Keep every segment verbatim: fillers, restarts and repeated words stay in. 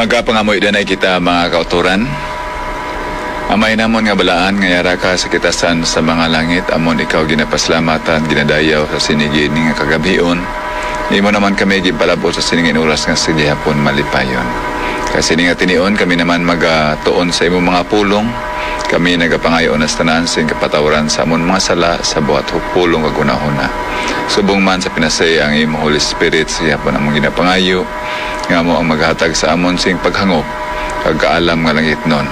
Magapangamoy danay kita, mga kautoran. Amay namon nga balaan nga yara ka sa kitasan sa mga langit, amon ikaw ginapasalamatan, ginadayaw sa sinigid nga kagabhion. Imo naman kami ginpalab-ot sa sining oras nga sa gihapon malipayon. Kay sini nga tinion kami naman magatuon sa imong mga pulong. Kami nagapangayo na sa tanan sing kapatawaran sa amon mga sala sa buhat pulong kag hunahuna. Subong man sa pinasay ang imo Holy Spirit sa gihapon among ginapangayo, nga amo ang maghatag sa amon sing paghangop kag kaalam nga langitnon.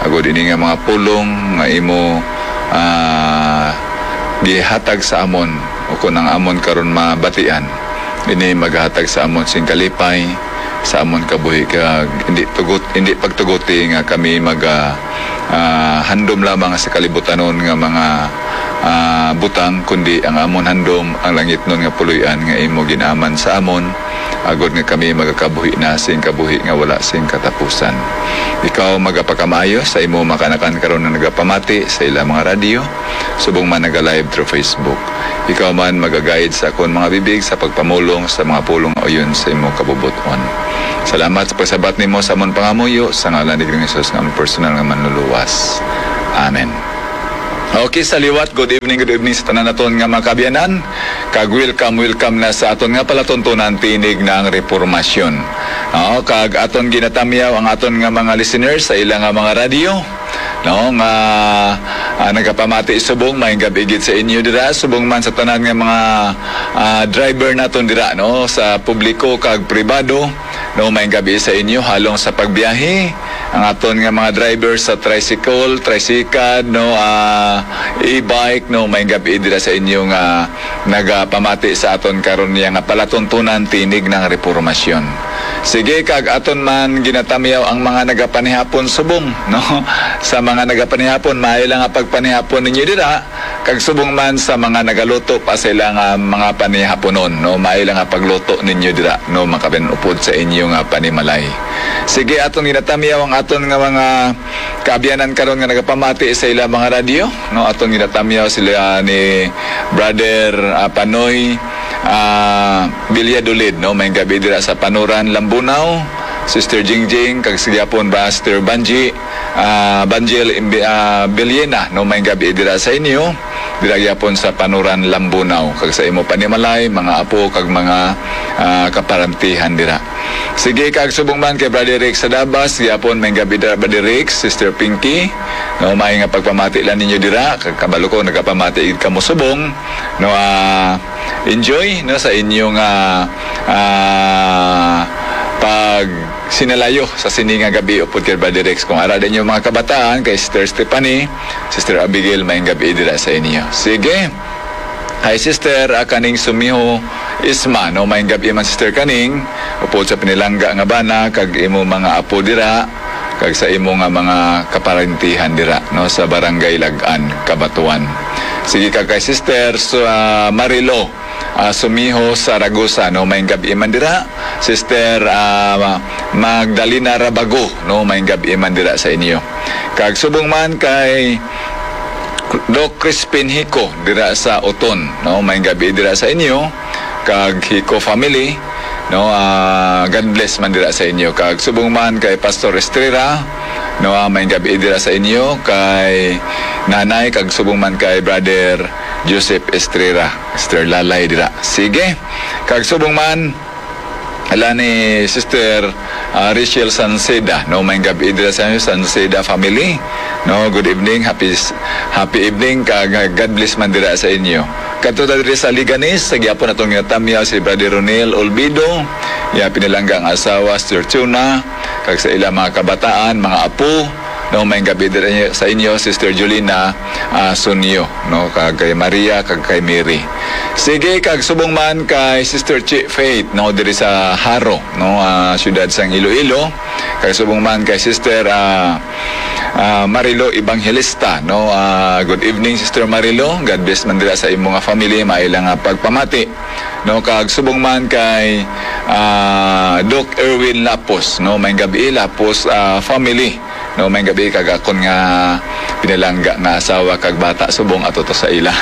Agod ini nga mga pulong nga imo, ah, gihatag sa amon, o kon ang amon karon mabatian, ini maghatag sa amon sing kalipay sa amon kabuhi, kag hindi tugot, hindi pagtuguti nga kami maga, ah, handom lamang sa kalibutanon nga mga, ah, butang, kundi ang amon handom ang langitnon nga puloy-an nga imo gin-aman sa amon, agod nga kami magakabuhi na sing kabuhi nga wala sing katapusan. Ikaw magapakamaayo sa imo mga kaanakan karon nga nagapamati sa ilang mga radyo, subong man naga-live through Facebook. Ikaw man magaguide sa akon mga bibig sa pagpamulong sa mga pulong nga uyon sa imo kabubot-on. Salamat sa pagsabat nimo sa amon pangamuyo, sa ngalan ni Ginoong Jesus nga amon personal nga Manluluwas. Amen. Okay, sa liwat, good evening, good evening sa tanan naton nga mga kaabyanan. Kag welcome, welcome na sa aton nga palatuntunan, Tinig ng Reformasyon. Oo, kag aton ginatamyaw ang aton nga mga listeners sa ila nga mga radyo, no, nga, ah, nagapamati subong, maayong gab-i gid sa inyo dira, subong man sa tanan nga mga, ah, driver naton dira, no, sa publiko kag pribado, no, maayong gab-i sa inyo halong sa pagbiyahe. Ang aton nga mga driver sa tricycle, tricycad, no, ah, e-bike, no, maayong gab-i dira sa inyo nga nagapamati sa aton karon niya nga palatuntunan, Tinig ng Reformasyon. Sige, kag aton man ginatamyaw ang mga nagapanihapon subong, no? Sa mga nagapanihapon, maayo lang nga pagpanihapon ninyo dira, kag subong man sa mga nagaluto pa sa ila nga mga panihaponon, no? Maayo lang nga pagluto ninyo dira, no? Makapanupod sa inyo nga panimalay. Sige, aton ginatamyaw ang aton nga mga kaabyanan karon nga nagapamati sa ila mga radyo, no? Aton ginatamyaw sila ni Brother, ah, Panoy, ah, Villadolid, no? Maayong gab-i dira sa Panuran, Lambunao. Sister Jingjing, kag sa gihapon, Brother Banji, ah, Banjel Imbi-, ah, Villena, no? Maayong gab-i dira sa inyo. Dira gihapon sa Panuran, Lambunao, kag sa imo panimalay, mga apo, kag mga, ah, kaparantihan dira. Sige, kag subong man kay Brother Rick sa Davao, gihapon, maayong gab-i dira, Brother Rick, Sister Pinky. No, maayo nga pagpamati lang ninyo dira. Kag kabalo ko, nagapamati gid kamo subong. No, ah, enjoy, no, sa inyong, ah, ah, pag sinalayo sa sini nga gab-i upod kay Brother Rex. Kung ara din yung mga kabataan, kay Sister Stephanie, Sister Abigail, maayong gab-i dira sa inyo. Sige. Hi, Sister, ah, kaning Sumiho Isma, no? Maayong gab-i man, Sister, kaning upod sa pinilangga nga bana, kag imo mga apo dira, kag sa imo nga mga kaparintihan dira, no? Sa Barangay Lagan, Cabatuan. Sige, kag kay Sister, so, ah, Marilo, ah, Sumiho Saragosa, no? Maayong gab-i man dira. Sister, ah, Magdalena Rabago, no? Maayong gab-i man dira sa inyo. Kag subong man kay Doc Crispin Hico dira sa Oton, no? Maayong gab-i dira sa inyo. Kag Hico family, no? Ah, God bless man dira sa inyo. Kag subong man kay Pastor Estrera, no? Ah, maayong gab-i dira sa inyo. Kay Nanay, kag subong man kay Brother Joseph Estrera, Sister Lalay dira. Sige. Kag subong man, ala ni Sister, ah, Rachel Sanceda, no, maayong gab-i dira sa inyo, Sanceda family. No, good evening, happy s-, happy evening, kag God bless man dira sa inyo. Kadto ta diri sa Leganes, sa gihapon atong ginatamyaw si Brother Ronel Olvido, iya pinalangga ang asawa, Sister Chuna, kag sa ilang mga kabataan, mga apo, no, maayong gab-i dira sa inyo, Sister Jolina, ah, Sunyo, no, kag kay Maria, kag kay Mary. Sige, kag subong man kay Sister Chi Faith, no, diri sa Jaro, no, ah, siyudad sang Iloilo. Kag subong man kay Sister, ah, ah, Marilo Evangelista, no. Ah, good evening, Sister Marilo. God bless man dira sa imo nga family, maila nga pagpamati. No, kag subong man kay, ah, Doc Erwin Lapos, no, maayong gab-i, Lapos, ah, family. No, may gabi kag akon nga pinalangga nga asawa kag bata, subong ato to sa ila.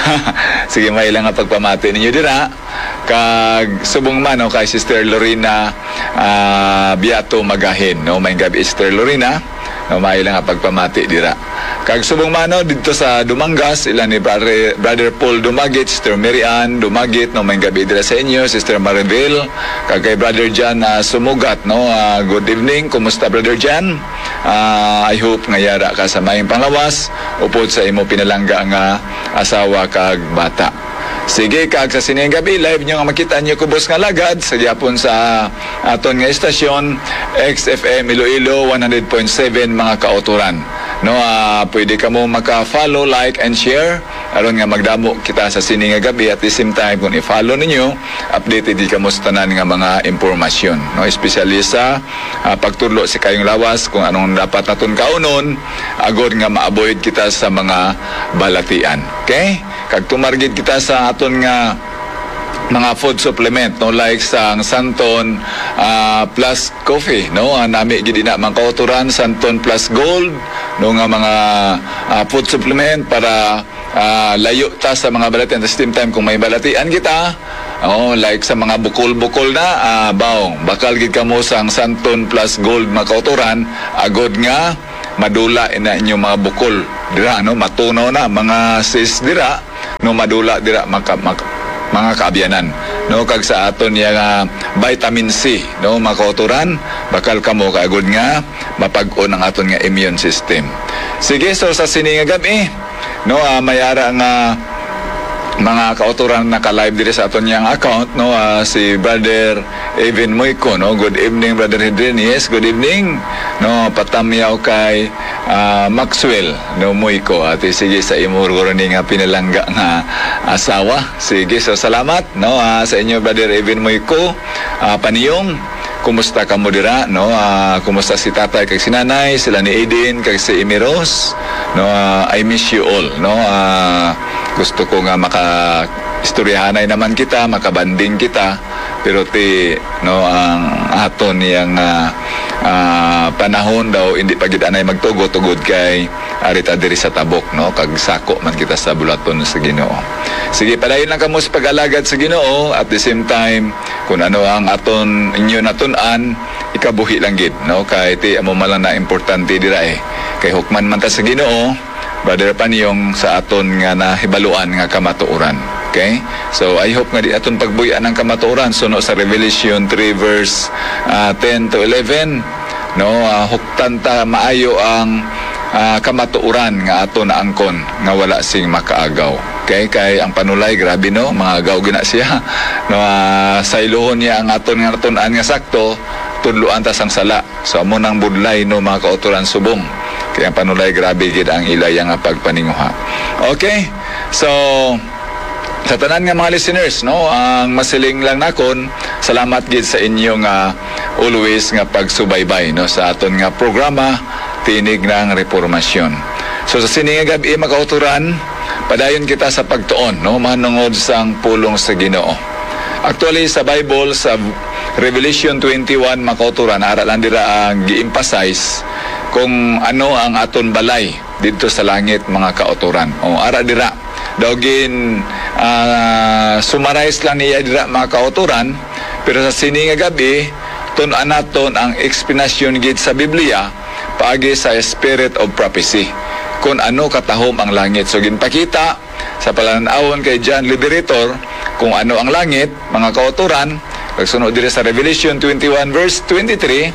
Sige, may lang nga pagpamati ninyo dira. Kag subong man, no, kay Sister Lorena, ah, Biato Magahin, no, may gabi, Sister Lorena. No, may lang nga pagpamati dira. Kag subong man, no, dito sa Dumangas, ila ni Brother, Brother Paul Dumagit, Sister Mary Ann Dumagit, no, may gabi dira sa inyo, Sister Maribel, kag kay Brother Jan, ah, Sumugat, no. Ah, good evening. Kumusta, Brother Jan? Ah, I hope nga yara ka sa maayong panglawas upod sa imo pinalangga nga asawa kag bata. Sige, kag sa sining gabi, live nyo nga makita nyo kubos nga lagad sa gihapon sa aton nga estasyon, X F M Iloilo one hundred point seven, mga kautoran. No, ah, pwede kamo maka-follow, like, and share aron nga magdamo kita sa sini nga gabi. At the same time, kung i-follow ninyo, updated gid kamo sa tanan nga mga impormasyon, no? Especially sa, ah, pagtudlo sa kayong lawas, kung anong dapat naton kaunon, agod nga ma-avoid kita sa mga balatian. Okay? Kag tumar gid kita sa aton nga mga food supplement, no, like sang Santon, ah, Plus Coffee, no, ah, nami gid ina, mga kautoran, Santon Plus Gold, no, nga mga, ah, food supplement para, ah, layo ta sa mga balatian. At the same time, kung may balatian kita, oh, like sa mga bukol-bukol na, ah, baw, bakal gid kamo sang Santon Plus Gold, mga kautoran, agod nga madula ina inyong mga bukol dira, no, matunaw na mga cyst dira, no, madula dira, maka-, mak-, mga kaabyanan, no, kag sa aton niya nga vitamin C, no, mga kautoran, bakal kamo kay agod nga mapag-on ang aton nga immune system. Sige, so sa sini nga gab-i, no, ah, may ara nga mga kautoran naka-live diri sa aton niyang account, no, ah, si Brother Even Moico, no. Good evening, Brother Hedrin. Yes, good evening. No, patamyaw kay, ah, Maxwell, no, Moico. Ati, sige, sa imo guro ni nga pinalangga nga asawa. Sige, so salamat, no, ah, sa inyo, Brother Even Moico, ah, Paniyong. Kumusta kamo dira, no? Ah, kumusta si tatay kag si nanay, sila ni Aiden kag si Amy Rose? No, ah, I miss you all, no? Ah, gusto ko nga maka istoryahanay naman kita, makabanding kita, pero ti, no, ang aton yang, ah, ah, panahon daw hindi pa gid anay magtugot tugod kay ari ta diri sa tabok, no, kag sako man kita sa bulaton sa Ginoo. Sige, padayon lang kamo sa pag-alagad sa Ginoo, at the same time, kung ano ang aton inyo natun-an, ikabuhi lang gid, no, kay ti amo man lang na importante dira, eh, kay hukman man ta sa Ginoo, Brother Panyong, sa aton nga nahibaluan nga kamatuoran. Okay? So, I hope nga di aton pagbuy-an ang kamatuoran. Suno sa Revelation three verse, ah, ten to eleven, no, ah, huktan ta maayo ang, ah, kamatuoran nga aton naangkon nga wala sing makaagaw. Okay? Kay ang panulay, grabe, no? Mga agaw gina siya. No, ah, sayluhon niya ang aton nga natun-an nga sakto, tudloan ta sang sala. So, amo nang budlay, no, mga kautoran, subong. Kaya panulay, grabe gid ang ilaya nga pagpaninguha. Okay? So, sa tanan nga mga listeners, no, ang masiling lang nakon, salamat gid sa inyo nga always nga pagsubaybay, no, sa aton nga programa, Tinig ng Reformasyon. So, sa sini nga gab-i, mga kautoran, padayon kita sa pagtuon, no, manungod sang pulong sa Ginoo. Actually, sa Bible, sa Revelation twenty-one, mga kautoran, ara lang dira ang gi-emphasize kung ano ang aton balay didto sa langit, mga kautoran. O, ara dira. Daw gin, ah, summarize lang niya dira, mga kautoran, pero sa sini nga gab-i, tun-an naton ang explanation gid sa Biblia paagi sa spirit of prophecy, kung ano katahom ang langit. So, ginpakita sa palan-awon kay John Liberator kung ano ang langit, mga kautoran, kag sunod diri sa Revelation twenty-one verse twenty-three,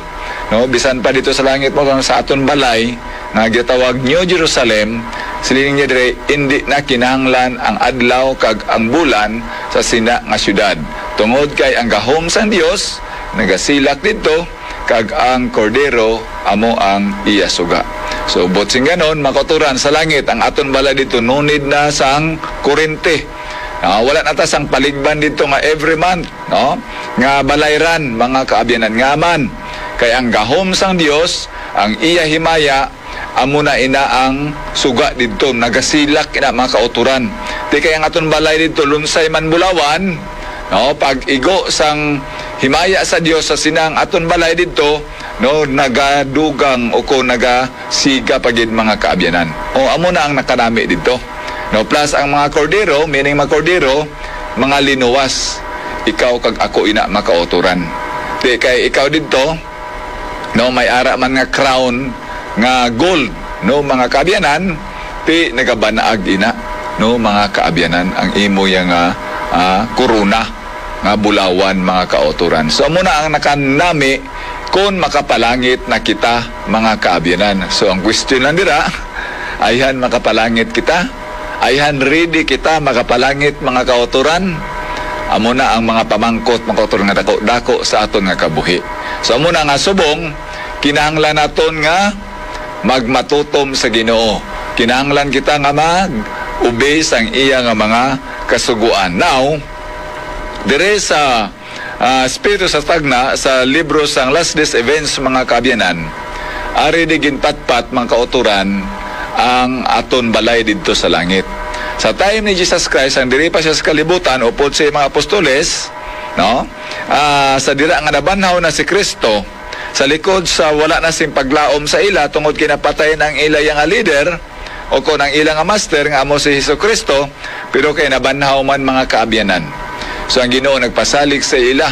no, bisan pa dito sa langit mo kang sa aton balay nga gitawag New Jerusalem, siling niya diri, indi na kinahanglan ang adlaw kag ang bulan sa sina nga syudad, tungod kay ang gahom sang Dios nagasilak didto, kag ang Kordero amo ang iya suga. So, buot sing ganon, mga kautoran, sa langit, ang aton balay dito, no need na sang kurente. Ah, wala na ta sang paligban dito nga every month, no? Nga balayran, mga kaabyanan, nga man. Kay ang gahom sang Dios, ang iya himaya, amo na ina ang suga didto, nagasilak ina, mga kautoran. Di kay ang aton balay didto, Lunsay man, Bulawan, no? Pag igo sang himaya sa Dios sa sinang aton balay didto, no, nagadugang o kon nagasiga pa gid, mga kaabyanan. O, amo na ang nakanami didto. No, plus ang mga kordero, meaning mga kordero, mga linuwas. Ikaw kag ako ina, mga kautoran. Di kay ikaw didto, no, may ara man nga crown nga gold, no, mga kaabyanan, ti nagabanaag ina, no, mga kaabyanan, ang imo yang, ah, ah, korona nga bulawan, mga kautoran. So, amo na ang nakanami kon makapalangit na kita, mga kaabyanan. So, ang question lang dira, ayhan makapalangit kita? Ayhan ready kita makapalangit, mga kautoran? Amo na ang mga pamangkot, mga kautoran, nga dako-dako sa aton nga kabuhi. So, amo na nga subong, kinahanglan naton nga magmatutom sa Ginoo. Kinahanglan kita nga mag-obey sang iya nga mga kasugoan. Now, dire sa, ah, Espiritu sa Tagna, sa libro sang Last Days Events, mga kaabyanan, ari di ginpatpat, mga kautoran, ang aton balay didto sa langit. Sa time ni Jesus Christ, ang diri pa siya sa kalibutan, upod sa mga apostoles, no? Ah, sa dira nga nabanhaw na si Kristo, sa likod sa wala na sing paglaom sa ila tungod kay napatay na ang ila nga leader, o kon ang ila nga master nga amo si Jesu-Cristo, pero kay nabanhaw man, mga kaabyanan. So ang Ginoo nagpasalig sa ila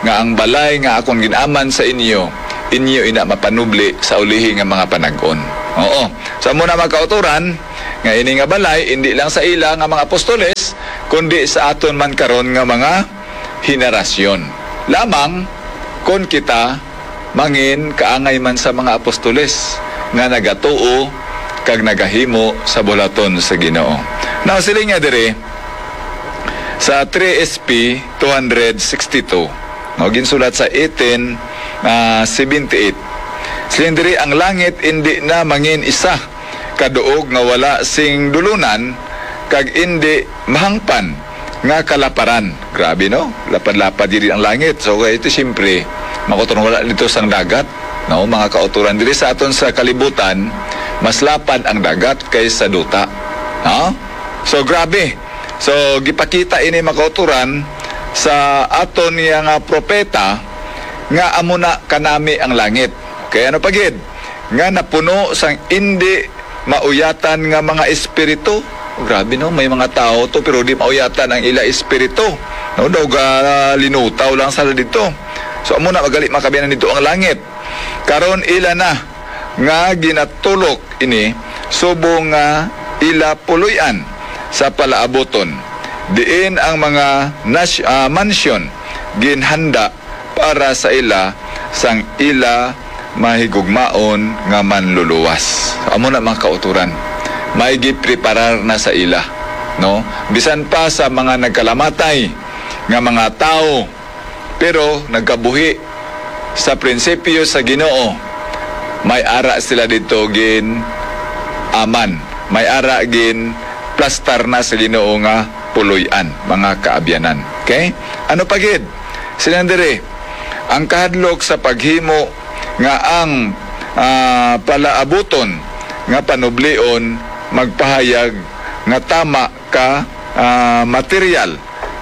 nga ang balay nga akon gin-aman sa inyo, inyo ina mapanubli sa ulihi nga mga panag-on. Oo. So amo na, mga kautoran, nga ini nga balay indi lang sa ila nga mga apostoles, kundi sa aton man karon nga mga henerasyon lamang, kon kita mangin kaangay man sa mga apostoles nga nagatuo kag nagahimo sa buhaton sa Ginoo. Now, siling niya diri sa three S P two hundred sixty-two, no, ginsulat sa eighteen, ah, seventy-eight. Siling diri, ang langit indi na mangin isa ka duog nga wala sing dulunan, kag indi mahangpan nga kalaparan. Grabe, no? Lapad-lapad diri ang langit. So, kay ito, siyempre, mga kautoran, wala dito sang dagat, no? Mga kautoran, diri sa aton sa kalibutan, mas lapad ang dagat kaysa duta. No? So, grabe. So, gipakita ini, mga kautoran, sa aton nga propeta nga amo na kanami ang langit. Kay ano pa gid? Nga napuno sang indi mauyatan nga mga espiritu. Grabe, no, may mga tawo to, pero di mauyatan ang ila espiritu. No, daw ga linutaw lang sila didto. So, amo na, magali, mga kaabyanan, didto ang langit. Karon ila na nga ginatulok ini subong nga ila puloy-an sa palaabuton, diin ang mga nas-, ah, mansyon ginhanda para sa ila sang ila mahigugmaon nga manluluwas. Amo na, mga kautoran, may gipreparar na sa ila, no? Bisan pa sa mga nagkalamatay nga mga tawo, pero nagkabuhi sa prinsipyo sa Ginoo, may ara sila didto gin-aman, may ara ginplastar na sa Ginoo nga puloy-an, mga kaabyanan. Okay? Ano pa gid? Siling diri, ang kahadlok sa paghimo nga ang, ah, palaabuton nga panublion magpahayag nga tama ka, ah, material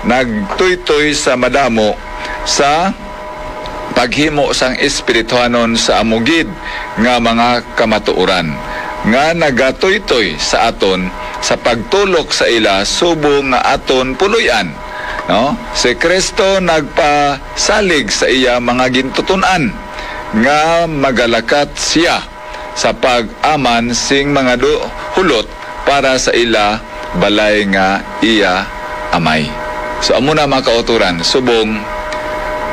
nagtuytoy sa madamo sa paghimo sang espirituhanon sa amo gid nga mga kamatuoran nga nagatuytoy sa aton sa pagtulok sa ila subong nga aton puloy-an, no? Si Cristo nagpasalig sa iya mga gintuton-an nga magalakat siya sa pag-aman sing mga du-, hulot para sa ila balay nga iya amay. So, amo na, mga kautoran, subong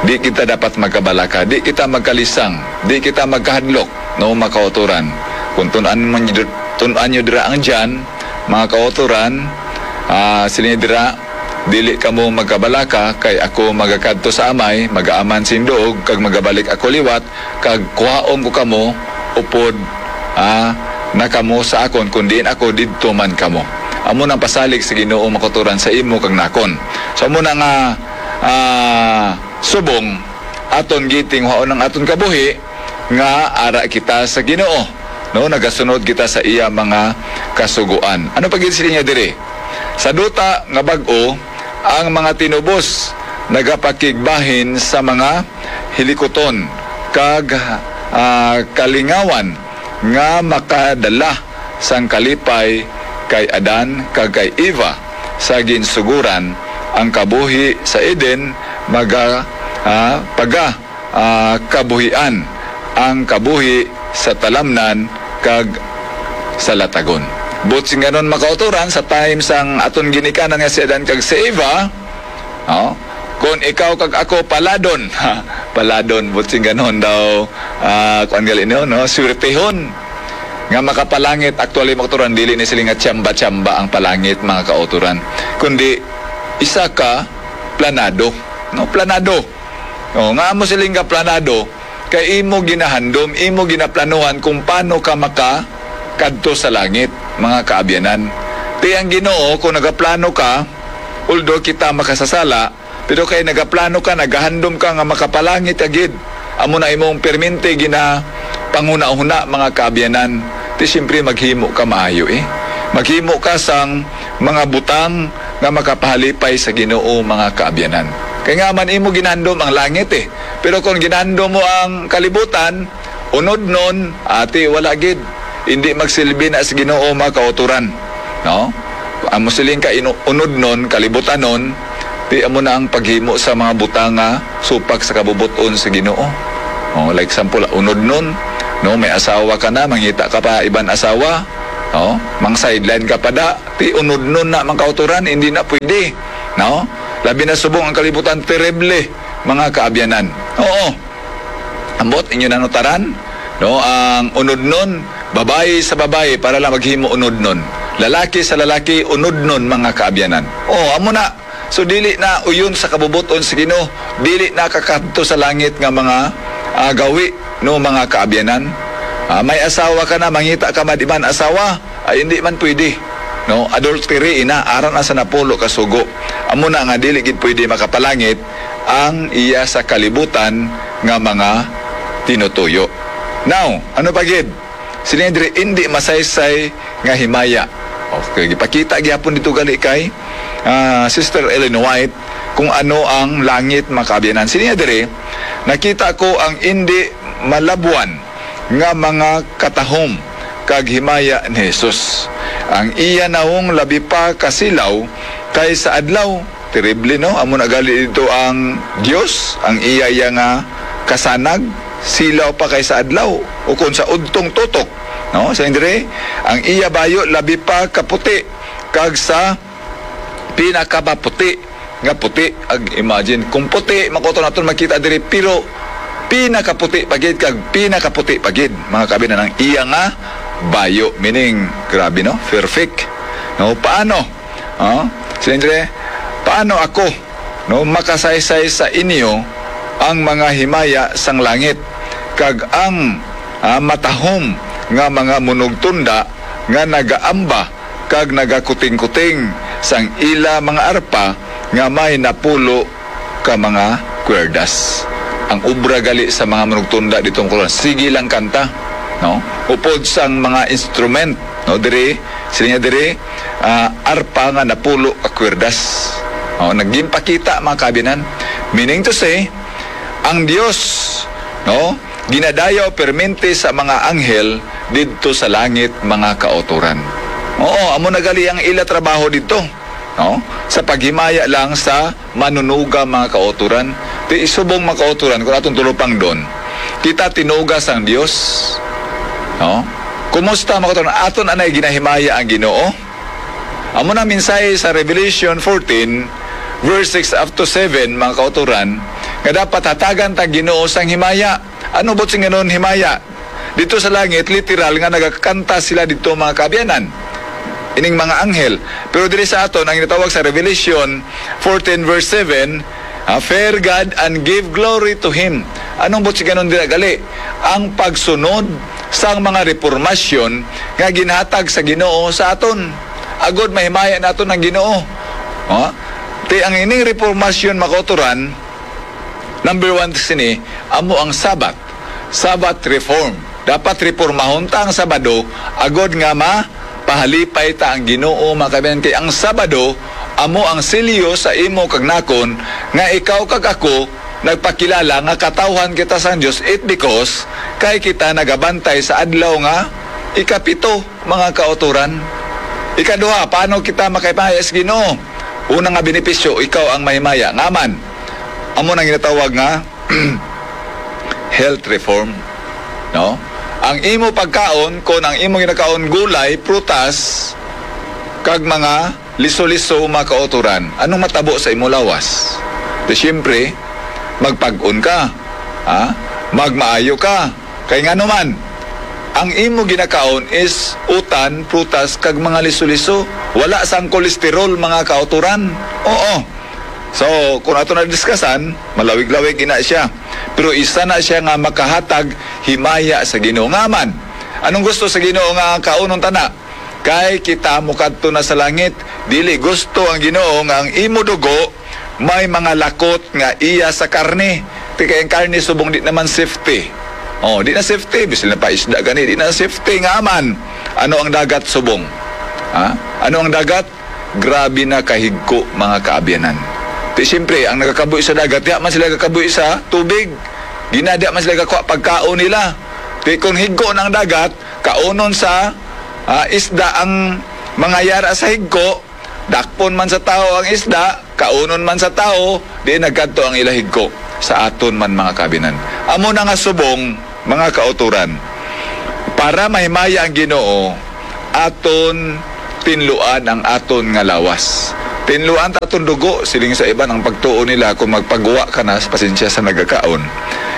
di kita dapat magkabalaka, di kita magkalisang, di kita magkahadlok, no, mga kautoran. Kung tun-an man nyo, tun-an nyo dira ang John, mga kautoran, ah, siling dira, dili kamo magkabalaka, kay ako magakadto sa Amay, magaaman sing duog, kag magabalik ako liwat, kag kuhaon ko kamo upod, ah, na kamo sa akon, kun diin ako, didto man kamo. Amo nang pasalig sa Ginoo, mga kautoran, sa imo kag nakon. So, amo na nga, ah, subong, aton gitingwaon ang aton kabuhi nga ara kita sa Ginoo, no? Nagasunod kita sa iya mga kasugoan. Ano pa gid siling niya diri? Sa duta nga bag-o, ang mga tinubos nagapakigbahin sa mga hilikuton kag, ah, kalingawan nga makadala sang kalipay kay Adan kag kay Eva sa ginsuguran. Ang kabuhi sa Eden maga, ah, paga, ah, kabuhian ang kabuhi sa talamnan kag sa latagon. Buot silingon, mga kauturan, sa time sang aton ginikanan nga si Adan kag si Eva, no? Kung ikaw kag ako paladon, paladon, buot silingon daw, ah, kuan gali, no, no? Swertehon nga makapalangit. Actually, mga kauturan, dili ni sila nga tsamba-tsamba ang palangit, mga kauturan, kundi isa ka planado, no? Planado. O, nga amo siling ka planado, kay imo ginahandom, imo ginaplanuhan kung paano ka makakadto sa langit, mga kaabyanan. Ti ang Ginoo, kung nagaplano ka, although kita makasasala, pero kay nagaplano ka, nagahandom ka nga makapalangit ka gid, amo na imong permente gina panghunahuna, mga kaabyanan. Ti siyempre maghimo ka maayo, eh. Maghimo ka sang mga butang nga makapahalipay sa Ginoo, mga kaabyanan. Kay nga man imo ginandom ang langit, eh. Pero kung ginandom mo ang kalibutan, unodnon, ati, wala gid. Hindi magsilbi na sa Ginoo, mga kauturan. No? Amo siling ka inu-, unodnon, kalibutanon, ti amo na ang paghimo sa mga butang nga supak sa kabubot-on sa Ginoo. Oh, like example, unodnon, no, may asawa ka na, mangita ka pa iban asawa, no? Mang sideline ka pa da, ti unodnon na, mga kauturan, hindi na pwede, no? Labi na subong ang kalibutan, terrible, mga kaabyanan. Oo. Ambot inyo nanutaran, no, ang unodnon, babayi sa babayi para lang maghimo unodnon. Lalaki sa lalaki, unodnon, mga kaabyanan. Oh, amo na. So, dili na uyon sa kabubot-on sa Ginoo, dili na kakadto sa langit nga mga, ah, gawi, no, mga kaabyanan. Ah, may asawa ka na, mangita ka man iban asawa, ay hindi man pwede, no? Adultery ina, ara na sa napulo ka sugo. Amo na nga dili gid pwede makapalangit ang iya sa kalibutan nga mga tinutuyo. Now, ano pa gid? Sila diri hindi masaysay nga himaya. Okay, gipakita gyapon dito gali kay, ah, Sister Ellen White kung ano ang langit, mga kaabyanan. Sila diri, nakita ko ang hindi malabwan nga mga katahom kag himaya ni Jesus. Ang iya nawong labi pa kasilaw kay sa adlaw. Terrible, no? Amo na gali dito ang Dios, ang iya, iya nga kasanag, silaw pa kay sa adlaw, ukon sa udtong tutok, no? Sa dire, ang iya bayo labi pa kaputi kag sa pinakamaputi nga puti. Ag imagine, kung puti, makuto naton makita diri, pero pinakaputi pa gid kag pinakaputi pa gid, mga kaabyanan, ang iya nga bayo. Meaning, grabe, no? Perfect. No? Paano? Ah? Siyempre, paano ako, no, makasaysay sa inyo ang mga himaya sang langit, kag ang, ah, matahom nga mga munugtunda nga nagaamba kag nagakuting-kuting sang ila mga arpa nga may napulo ka mga kwerdas. Ang obra gali sa mga manugtunda dito, mga kauturan, sige lang kanta, no? Upod sang mga instrument, no? Diri, sila niya diri, ah, arpa nga napulo ka kwerdas. Oh, nagginpakita, mga kaabyanan. Meaning to say, ang Dios, no, ginadayaw permente sa mga anghel didto sa langit, mga kauturan. Oo, amo na gali ang ila trabaho didto, no? Sa paghimaya lang sa manunuga, mga kauturan. Ti isubong, mga kauturan, kung atong tulupangdon, kita tinuga sang Dios, no? Kumusta, mga kauturan? Aton anay ginahimaya ang Ginoo? Amo na mensahe sa Revelation fourteen, verse six up to seven, mga kauturan, nga dapat hatagan ta Ginoo sang himaya. Ano buot silingon himaya? Dito sa langit, literal nga nagakanta sila dito, mga kaabyanan, ining mga anghel. Pero diri sa aton, ang ginatawag sa Revelation fourteen verse seven, ah, "Fear God and give glory to Him." Anong buot silingon dira gali? Ang pagsunod sang mga repormasyon nga ginhatag sa Ginoo sa aton. Agod mahimaya naton ang Ginoo. Ha? Ti ang ining repormasyon, mga kauturan, number one sini, amo ang Sabbath. Sabbath reform. Dapat repormahon ta ang Sabado, agod nga mapahalipay ta ang Ginoo, mga kaabyanan, kay ang Sabado amo ang selyo sa imo kag nakon nga ikaw kag ako nagpakilala nga katawhan kita sang Dios, it because kay kita nagabantay sa adlaw nga ikapito, mga kautoran. Ikaduha, paano kita makahimaya sa Ginoo? Una nga benepisyo, ikaw ang mahimaya. Nga man, amo nang ginatawag nga health reform, no? Ang imo pagkaon, kon ang imo ginakaon gulay, prutas, kag mga liso-liso, mga kautoran, anong matabo sa imo lawas? Di siyempre, magpag-on ka, ha? Magmaayo ka. Kay ngano man, ang imo ginakaon is utan, prutas, kag mga liso-liso. Wala sang kolesterol, mga kautoran. Oo. So, kung ato na diskasan, malawig-lawig ina siya. Pero isa na siya nga makahatag himaya sa Ginoo. Nga man, anong gusto sa Ginoo nga kaunon ta na? Kay kita mukadto na sa langit, dili gusto ang Ginoo nga ang imo dugo may mga lakot nga iya sa karne. Ti kay ang karne subong di naman safety. Oh, di na safety, bisan na pa isda gani, di na safety nga man. Ano ang dagat subong? Ha? Ano ang dagat? Grabe na kahigko, mga kaabyanan. Ti siyempre, ang nagakabuhi sa dagat, diha man sila gakabuhi sa tubig. Gina, diha man sila gakuha pagkaon nila. Ti kung higko na ang dagat, kaunon sa, ah, isda ang mga yara sa higko, dakpon man sa tao ang isda, kaunon man sa tao, di nagkadto ang ila higko. Sa aton man, mga kaabyanan. Amo na nga subong, mga kautoran. Para mahimaya ang Ginoo, aton tinluan ang aton nga lawas. Tinluan ta aton dugo, siling sa iban ang pagtuo nila, kung magpagwa ka na, pasensya sa nagakaon.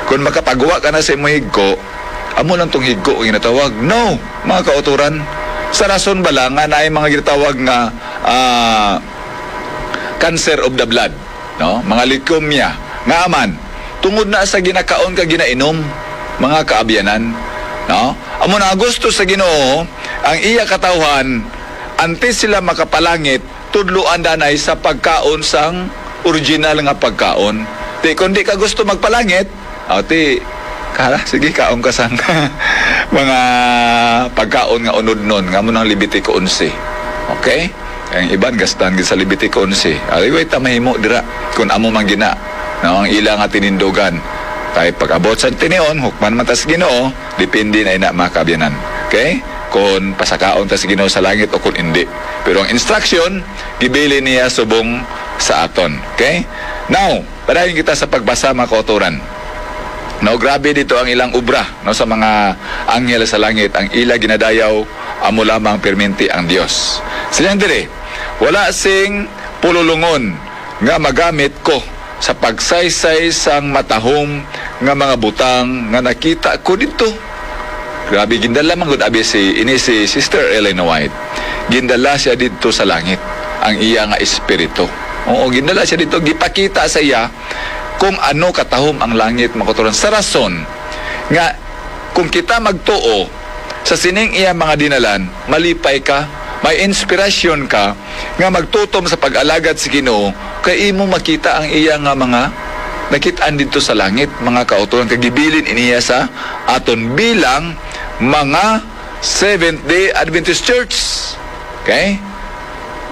Kung makapagwa ka na sa imong higko, amo lang tong higko ang ginatawag. No, mga kautoran. Sa rason bala nga naay mga ginatawag nga, ah, cancer of the blood, no? Mga leukemia. Nga man, tungod na sa ginakaon kag ginainom, mga kaabyanan, no? Amo na gusto sa Ginoo, ang iya katawhan, antes sila makapalangit, tudloan danay sa pagkaon sang original nga pagkaon. Ti, kung di ka gusto magpalangit, aw, ti, kara, sige, kaon ka sang mga pagkaon nga unodnon, nga mo nang Levitico onse. Okay? Ang iban, gastan gid sa Levitico onse. Aliway ta mahimo dira, kung amo man gina, no, ang ila nga tinindugan. Kay pag-abot sa tinion, hukman man ta sa Ginoo, depende na ina, mga kaabyanan. Okay? Kung pasakaon ta sa Ginoo sa langit o kung hindi. Pero ang instruction, gibilin niya subong sa aton. Okay? Now, padayon kita sa pagbasa, mga kautoran. No, grabe dito ang ilang obra, no, sa mga anghel sa langit, ang ila ginadayaw, amo lamang perminti ang Dios. Silang dire, wala sing pululungon nga magamit ko sa pagsaysay sang matahom nga mga butang nga nakita ko didto. Grabe, gindala man gud abi si, ini si Sister Ellen White. Gindala siya didto sa langit, ang iya nga espiritu. Oo, gindala siya didto, gipakita sa iya kung ano katahom ang langit, mga kautoran. Sa rason nga kung kita magtuo sa sining iya mga dinalan, malipay ka, may inspirasyon ka, nga magtutom sa pag-alagad sa Ginoo, kay imo makita ang iya nga mga nakit-an didto sa langit, mga kautoran, kag gibilin iniya sa aton bilang mga Seventh Day Adventist Church. Okay?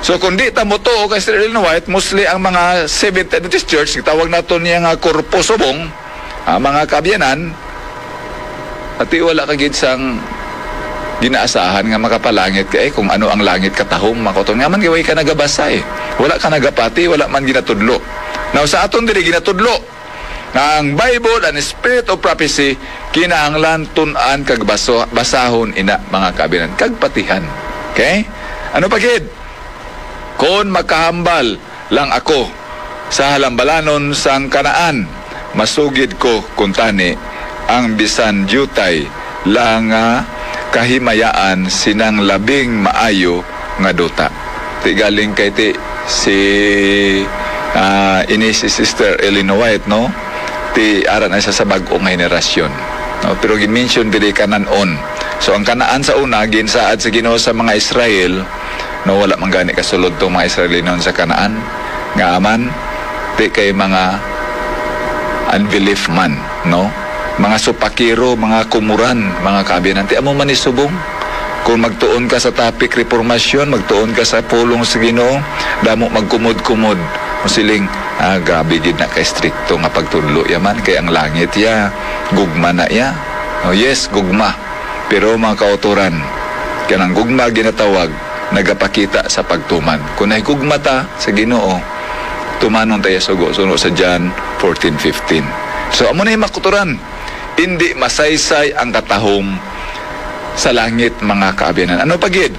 So, kung di ta motuo kay Sister Ellen White, mostly ang mga Seventh Day Adventist Church, gitawag nato niya nga korpo subong, ah, mga kaabyanan, ati wala ka gid sang ginaasahan nga makapalangit ka, eh, kung ano ang langit katahom, mga kautoran. Nga man, kay way ka nagabasa, eh. Wala ka nagapati, wala man ginatudlo. Now, sa aton diri ginatudlo nga ang Bible, ang Spirit of Prophecy, kinahanglan tun-an kag baso-, basahon ina, mga kaabyanan, kag patihan. Okay? Ano pa gid? Kon makahambal lang ako sa halambalanon sang Kanaan, masugid ko kuntani ang bisan diutay lang nga kahimayaan sinang labing maayo nga duta. Ti galing kay ti si, ah, ini si Sister Ellen White, no? Ti ara na siya sa bag-o nga henerasyon, no? Pero gin-mention diri Canaan. So ang Kanaan sa una ginsaad sa Ginoo sa mga Israel, no, wala man gani kasulod tong mga Israelinon sa Kanaan. Nga man, ti kay mga unbelief man, no? Mga supakero, mga kumuran, mga kaabyanan. Ti amo man ni subong. Kung magtuon ka sa topic reformasyon, magtuon ka sa pulong sa Ginoo, damo magkumod-kumod. Ang siling, Ah, grabe gid na ka-estrikto nga pagtudlo ya man, kay ang langit ya, gugma na ya. Oh, yes, gugma. Pero, mga kautoran, kanang gugma ginatawag nagapakita sa pagtuman. Kung nahigugma ta sa Ginoo, tumanon ta ya sugo, suno sa John fourteen fifteen. So, amo na yung, mga kautoran, indi masaysay ang katahom sa langit, mga kaabyanan. Ano pa gid?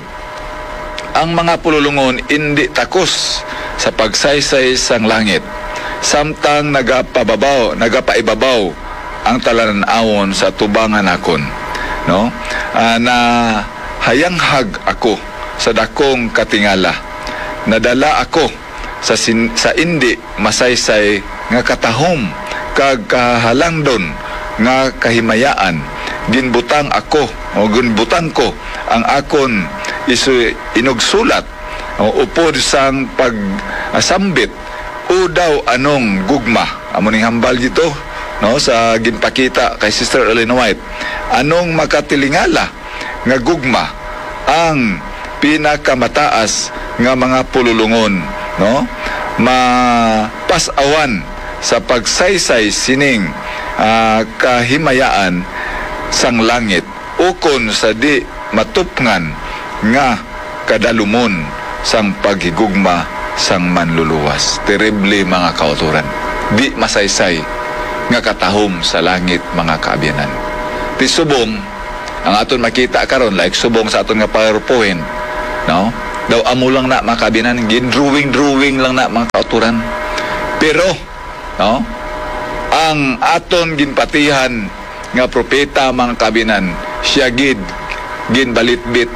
Ang mga pululungon indi takos sa pagsaysay sang langit, samtang nagapababaw, nagapaibabaw ang talan-awon sa tubangan nakon, no? Ah, nahayanghag ako sa dakong katingala. Nadala ako sa sin-, sa indi masaysay nga katahom kag kahalangdon nga kahimayaan. Ginbutang ako, o ginbutang ko ang akon isu-, inugsulat, o upod sang pag-, ah, sambit, "O daw anong gugma?" Amo ning hambal dito, no, sa ginpakita kay Sister Ellen White. Anong makatilingala nga gugma ang pinakamataas nga mga pululungon, no? Mapas-awan sa pagsaysay sining, ah, kahimayaan sang langit, ukon sa di matupngan nga kadalumon sang paghigugma sang Manluluwas. Terrible, mga kautoran. Di masaysay nga katahom sa langit, mga kaabyanan. Ti subong, ang aton makita karon, like subong sa aton nga PowerPoint, no? Daw amo lang na, mga kaabyanan, gin-drawing-drawing lang na, mga kautoran. Pero, no? Ang aton ginpatihan nga propeta, mga kaabyanan, siya gid ginbalitbit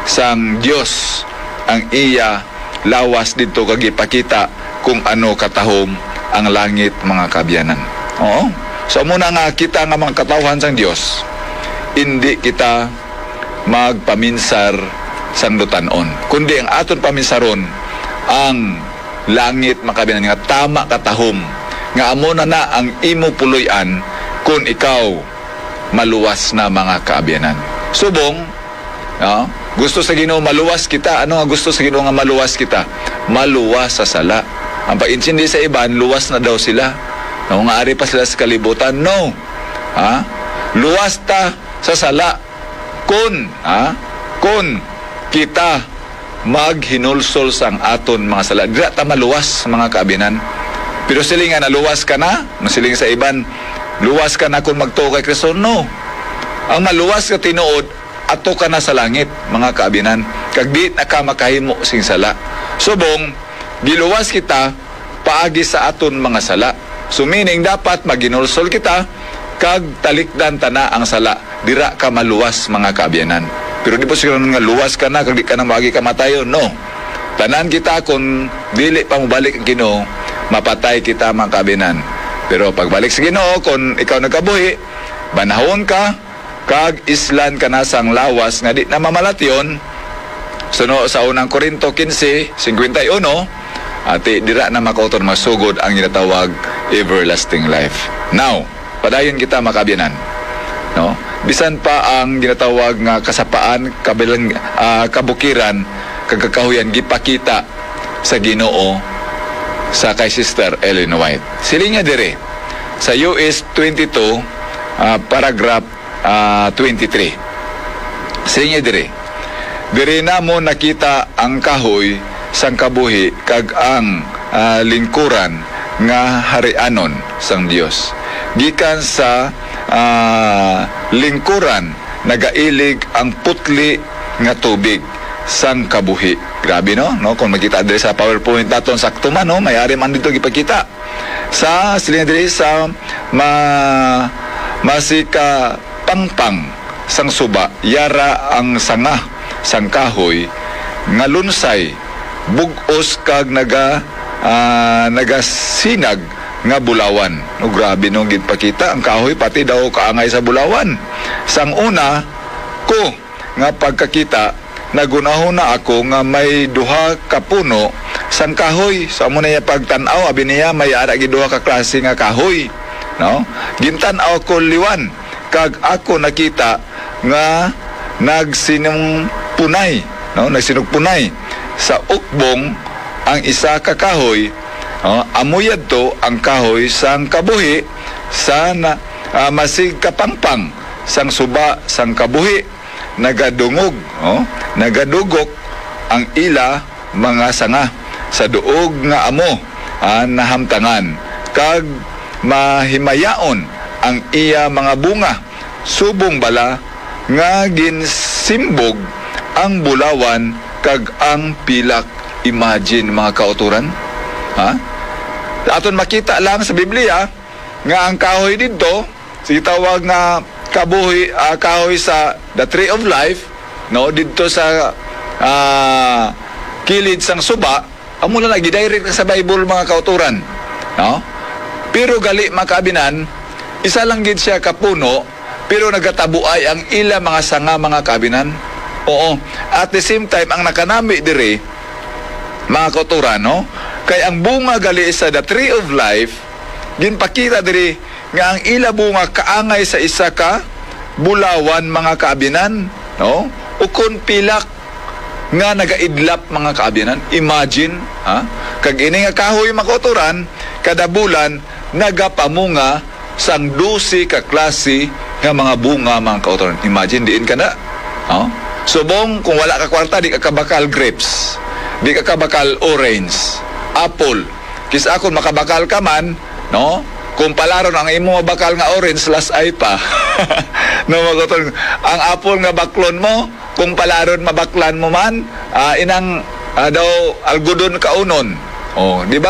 sang Dios ang iya lawas didto kag ipakita kung ano katahom ang langit, mga kaabyanan. Oo. So, amo na nga kita nga mga katawhan sang Dios, indi kita magpaminsar sang dutan-on, kundi ang aton paminsaron ang langit, mga kaabyanan, nga tama katahom, nga amo na na ang imo puloy-an kon ikaw maluwas na, mga kaabyanan. Subong, no? Gusto sa Ginoo maluwas kita. Ano nga gusto sa Ginoo nga maluwas kita? Maluwas sa sala. Ang pag-intindi sa iban, luwas na daw sila. No, nga ari pa sila sa kalibutan. No. Ha? Luwas ta sa sala. Kun, ha? Kun kita maghinulsol sang aton mga sala, dira ta maluwas, mga kaabyanan. Pero siling nga, naluwas ka na, masiling sa iban, luwas ka na kung magtuo kay Kristo. No. Ang maluwas nga tinuod, ato ka na sa langit, mga kaabyanan, kag di na ka makahimo sing sala. Subong, giluwas kita paagi sa aton mga sala. So, meaning, dapat maghinulsol kita kag talikdan ta na ang sala. Dira ka maluwas, mga kaabyanan. Pero di po siguro nga luwas ka na kag di ka na maagi kamatayon. No. Tanan kita, kung dili pa mobalik ang Ginoo, mapatay kita, mga kaabyanan. Pero pagbalik sa Ginoo, kung ikaw nagkabuhi, banahon ka, kag islan ka na sang lawas nga di na mamalatyon, suno sa unang Corinto quince cincuenta y uno, ati dira na makauton masugod ang ginatawag everlasting life. Now, padayon kita, mga kaabyanan, no? Bisan pa ang ginatawag nga kasapaan, kabilang, ah, kabukiran, kag kakahuyan gipakita sa Ginoo sa kay Sister Ellen White. Siling niya diri sa U S twenty-two, ah, paragraph ah, twenty-three. Siling niya diri, "Diri namon nakita ang kahoy sang kabuhi kag ang, ah, lingkuran nga harianon sang Dios. Gikan sa, ah, lingkuran nagailig ang putli nga tubig sang kabuhi." Grabe, no? No, kung makita diri sa PowerPoint naton, sakto man, no? May ari man dito gipakita. Sa, siling diri sa ma-, masikapangpang sang suba, yara ang sanga sang kahoy nga lunsay, bug-os kag naga-, ah, nagasinag nga bulawan. No, grabe nung ginpakita ang kahoy, pati daw kaangay sa bulawan. Sang una ko nga pagkakita, naghunahuna ako nga may duha ka puno sang kahoy. So, amo na iya pagtan-aw, abi niya, may ara gid duha ka klase nga kahoy, no? Gintan-aw ko liwan, kag ako nakita nga nagsinugpunay, no? Nagsinugpunay sa ukbong ang isa ka kahoy, Oh, amo yadto ang kahoy sang kabuhi sa na, ah, masigkapangpang sang suba sang kabuhi, nagadungog, oh, nagadugok ang ila mga sanga sa duog nga amo, ah, nahamtangan, kag mahimayaon ang iya mga bunga, subong bala nga ginsimbog ang bulawan kag ang pilak. Imagine, mga kautoran. Ha? Aton makita lang sa Biblia nga ang kahoy didto, sa gitawag nga kabuhi, ah, kahoy sa the tree of life, no, didto sa, ah, kilid sang suba, amo na gidirect sa Bible, mga kautoran, no? Pero gali, mga kaabinan, isa lang gid siya ka puno, pero nagatabuay ang ila mga sanga, mga kaabinan. Oo. At the same time, ang nakanami diri, mga kautoran, no? Kay ang bunga gali sa the tree of life, ginpakita diri nga ang ila bunga kaangay sa isa ka bulawan, mga kaabinan, no? Ukon pilak nga nagaidlap, mga kaabinan. Imagine, ha? Kag ini nga kahoy, mga kautoran, kada bulan nagapamunga sang dose ka klase nga mga bunga, mga kautoran. Imagine diin ka na. Oh? Subong, kung wala ka kwarta, di ka kabakal grapes, di ka kabakal orange, apple. Kis-a kung makabakal ka man, no? Kung palaron ang imo mabakal nga orange, lasay pa. No, mga kautoran, ang apple nga baklon mo, kung palaron mabaklan mo man, ah, inang, ah, daw algodon kaunon. Oh, di ba?